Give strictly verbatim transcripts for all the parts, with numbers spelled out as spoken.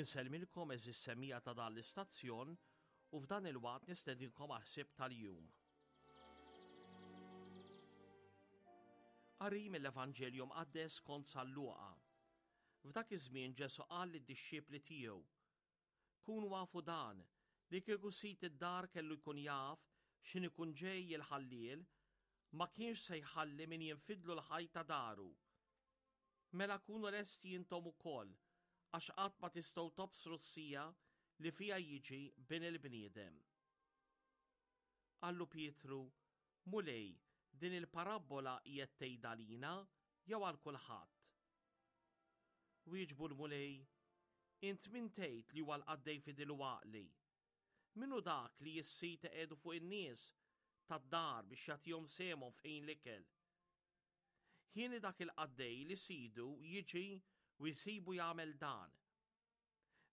Insellmilkom għeżież semmiegħa ta' dan l-istazzjon u f'dan il-waqt nistedinkom għall-ħsieb tal-jum. Qari mill-Evanġelju Mqaddes skont San Luqa. F'dak iż-żmien Ġesù qal lid-dixxipli tiegħu: Kunu afu dan, li kieku sid id-dar kellu jkun jaf x'ħin ikun ġej il-ħalliel, ma kienx se jħalli min jinfidlu l-ħajt ta' daru. Mela kunu lesti intom ukoll, għax qatt ma tistgħu tobsru s-siegħa li fiha jiġi Bin il-bniedem. Qallu Pietru, Mulej, din il-parabbola qiegħed tgħidha lina jew għal kulħadd? Wieġbu l-Mulej, Int min tgħid li huwa l-qaddej fidil u għaqli? Min hu dak li s-sid iqiegħdu fuq in-nies tad-dar biex jagħtihom sehemhom f'ħin l-ikel? Hieni dak il-qaddej li sidu jiġi u jsibu jagħmel dan.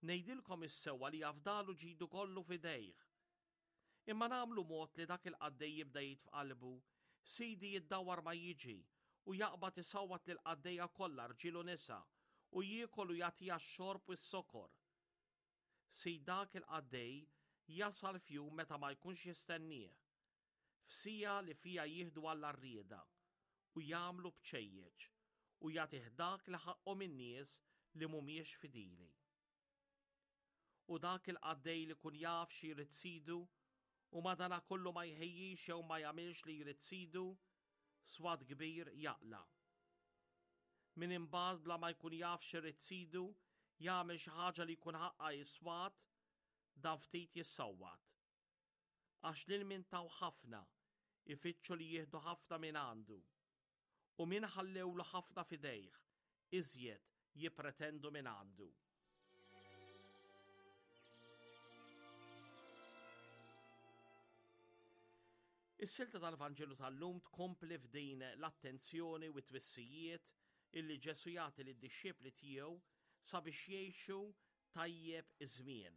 Ngħidilkom is-sewwa li jafdalu ġidu kollu f'idejh. Imma nagħmlu mod li dak il-qaddej jibda jgħid f'qalbu, Sidi jiddawwar ma jiġi, u jaqbad isawwat lill-qaddejja kollha rġiel u nisa, u jiekol u jagħtiha x-xorb u s-sokor. Sid dak il-qaddej jasal f'jum meta ma jkunx jistennieh, f'siegħa li fiha jieħdu għall-għarrieda, u jagħmlu bċejjeċ, u jagħtih dak li ħaqqhom in-nies li mhumiex fidili. U dak il-qaddej li kun jaf xi jrid sidu u madanakollu ma jħejjix jew ma jagħmilx li jrid sidu, swat kbir jaqla'. Min imbagħad bla ma jkun jaf xi jrid sidu jagħmel xi ħaġa li jkun ħaqqa jiswat, dan ftit jissawwat. Għax lil min taw ħafna, ifittxu li jieħdu ħafna minn għandu. U min ħallewlu ħafna f'idejh, iżjed jippretendu minn għandu. Is-silta tal-Vanġelu tal-lum tkompli f'din l-attenzjoni u t-twissijiet illi Ġesù jagħti lid-dixxipli tiegħu sabiex jgħixu tajjeb iż-żmien.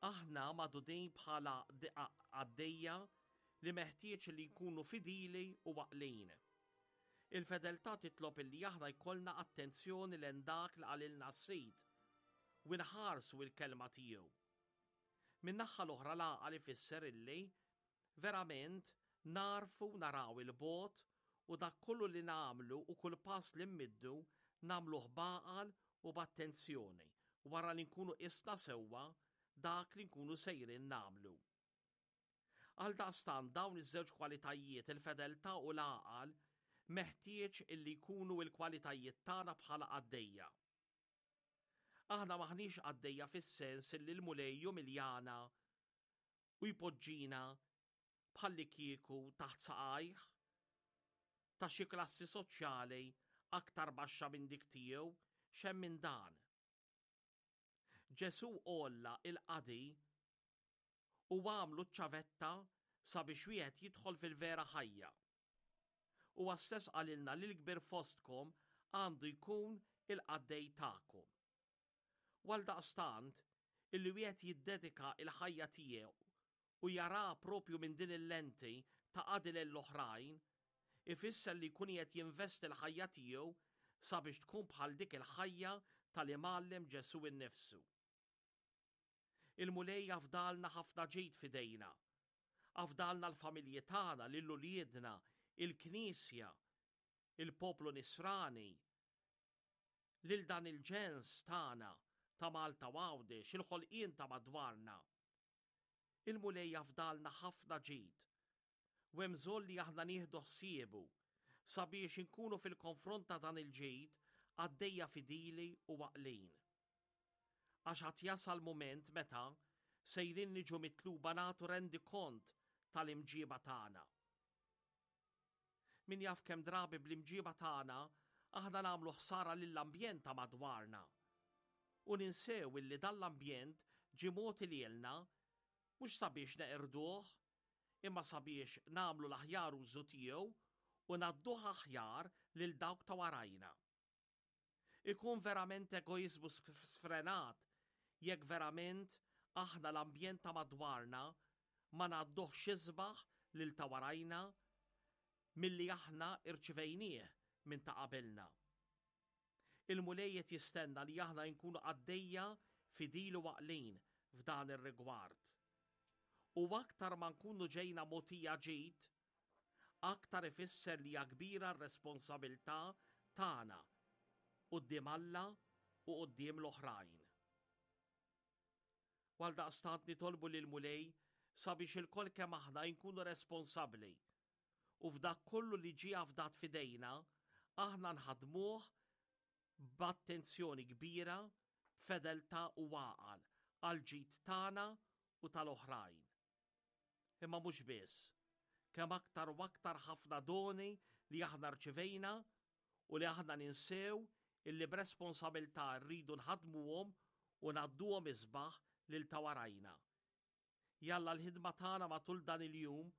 Aħna magħdudin bħala qaddejja li meħtieġ li jkunu fidili u għaqlin. Il-fedeltà titlob illi aħna jkollna attenzjoni lejn dak li qalilna s-Sid u nħarsu l-kelma tiegħu. Min-naħa l-oħra l-għaqal ifisser illi verament narfu naraw il-bogħod u dak kollu li nagħmlu u kull pass li mmiddu nagħmluh b'għaqal u b'attenzjoni wara li nkunu qisna sewwa dak li nkunu sejrin nagħmlu. Għaldaqstant dawn iż-żewġ kwalitajiet, il-fedeltà u l-għaqal, meħtieġ illi jkunu l-kwalitajiet tagħna bħala qaddejja. Aħna maħniex qaddejja fis-sens illi l-Mulej jumiljana u jpoġġina bħalli kieku taħt saqajh ta' xi klassi soċjali aktar baxxa minn dik tiegħu, x'hemm minn dan. Ġesù għolla il-qadi u għamlu ċ-ċavetta sabiex wieħed jidħol fil-vera ħajja. Huwa stess qalilna li l-kbir fostkom għandu jkun il-qaddej tagħkom. U għaldaqstant, illi wieħed jiddedika il-ħajja tiegħu u jara propju minn din il-lenti ta' qadi lill-oħrajn, ifisser li jkun qed jinvesti l-ħajja tiegħu sabiex tkun bħal dik il-ħajja tal-Imgħallem Ġesù innifsu. Il-Mulej afdalna ħafna ġid f'idejna. Afdalna l-familji tagħna, lil uliedna, il-Knisja, il-poplu nisrani, lil dan il-ġens tagħna ta' Malta u Għawdex, il-ħolqien ta' madwarna. Il-Mulej afdalna ħafna ġid u hemm bżonn li aħna nieħdu ħsiebu sabiex inkunu fil-konfront ta' dan il-ġid qaddejja fidili u għaqlin. Għax għad jasal mument meta sejrin niġu mitluba nagħtu rendikont tal-imġiba tagħna. Min jaf kemm drabi bl-imġiba tagħna aħna nagħmlu ħsara lill-ambjent ta' madwarna. U ninsew illi dan l-ambjent ġie mogħti lilna mhux sabiex neqirduh, imma sabiex nagħmlu l-aħjar użu tiegħu u ngħadduh aħjar lil dawk ta' warajna. Ikun verament egoizmu sfrenat jekk verament aħna l-ambjent ta' madwarna ma ngħadduhx isbaħ lil ta' warajna milli aħna irċivejnieh minn ta' qabilna. Il-Mulej qed jistenna li aħna nkunu qaddejja fidili u għaqlin f'dan ir-rigward. U aktar ma nkunu ġejna mogħtija ġid, aktar ifisser li hija kbira r-responsabilità tagħna quddiem Alla u quddiem l-oħrajn. Għaldaqstant nitolbu lill-Mulej sabiex ilkoll kemm aħna nkunu responsabbli u f'dak kollu li ġie afdat f'idejna aħna nħadmuh b'attenzjoni kbira, b'fedeltà u għaqal għal ġid tagħna u tal-oħrajn. Imma mhux biss, kemm aktar u aktar ħafna doni li aħna rċivejna u li aħna ninsew illi b'responsabilità rridu nħadmuhom u ngħadduhom isbaħ lil ta' warajna. Jalla l-ħidma tagħna matul dan il-jum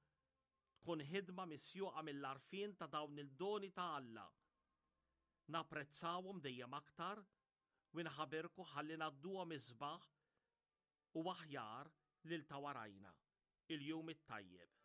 tkun ħidma misjuqa mill-għarfien ta' dawn il-doni ta' Alla. Napprezzawhom dejjem aktar u nħabirku ħalli ngħadduhom isbaħ u aħjar lil ta' warajna. Il-jum it-tajjeb.